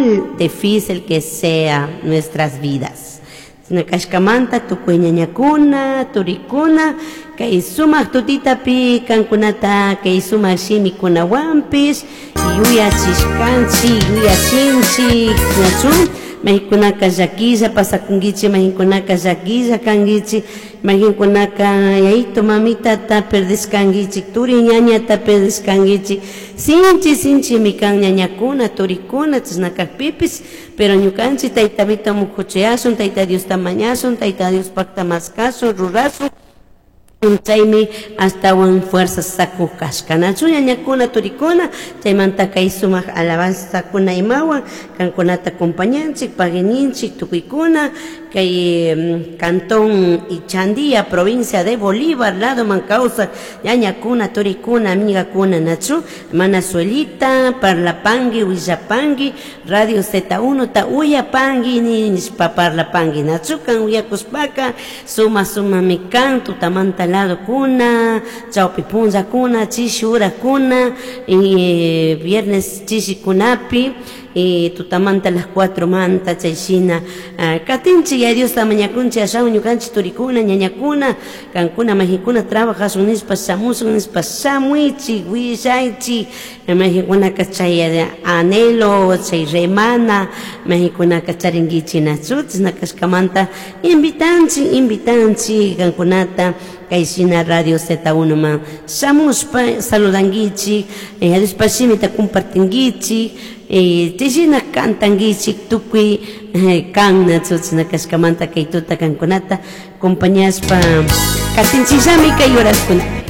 Igual difícil que sea nuestras vidas. Chashna cashcamanta tucui ñañacuna, turicuna, cai sumaj tutitapi cancunata cai sumaj shimicunahuanpish yuyachishcanchij, yuyachinchij, ñachu? Maicunaca llaquilla pasacunguichij, maicunaca llaquilla canguichij, maicunaca yayito mamitata perdishcanguichij, turi ñañata perdishcanguichij, sinchi sinchimi can ñañacuna, turicuna, chashna cajpipish, pero ñucanchij Tayta Vito mucuchiyashun, Tayta Diosta mañashun, Tayta Diospajta mascashun, rurashun, chaymi ashtawan fuerza sacuj cashca. Nachu ñañacuna, turicuna, chaymanta kay sumaq alabanzakuna imawan kankunata acompañanchik, paguininchik tukuykuna, kay cantón Ichandía, provincia de Bolívar, ladoman kawsaj ñañacuna, turicuna, amigakuna, nachu, mana suelita, parlapangui, willapangui, Radio Z1 ta uyapangui nishpa parlapangui, nachu kan uyakushpaka suma sumami kan tutamanta ladokuna, chawpi punllakuna, chishi horakuna, y viernes chishikunapi, y tutamanta las 4 manta chay shina katinchik ya Diosta mañakunchik ashawan ñukanchik turikuna, ñañakuna, kankuna majikuna trabajashun nishpa shamushun nishpa shamuichik, willaychik, majikunaka chay anhelo, chay remana, majikunaka charinkichik nachu, chashna kashkamanta invitanchik, invitanchik kankunata kay shina Radio Z1 man shamushpa saludankichik, Diospa shimita compartinkichik, chay shina cantankichik tukuy kan nachu, chashna kashkamanta kay tuta kankunata acompañashpa katinchikllami kay horaskuna.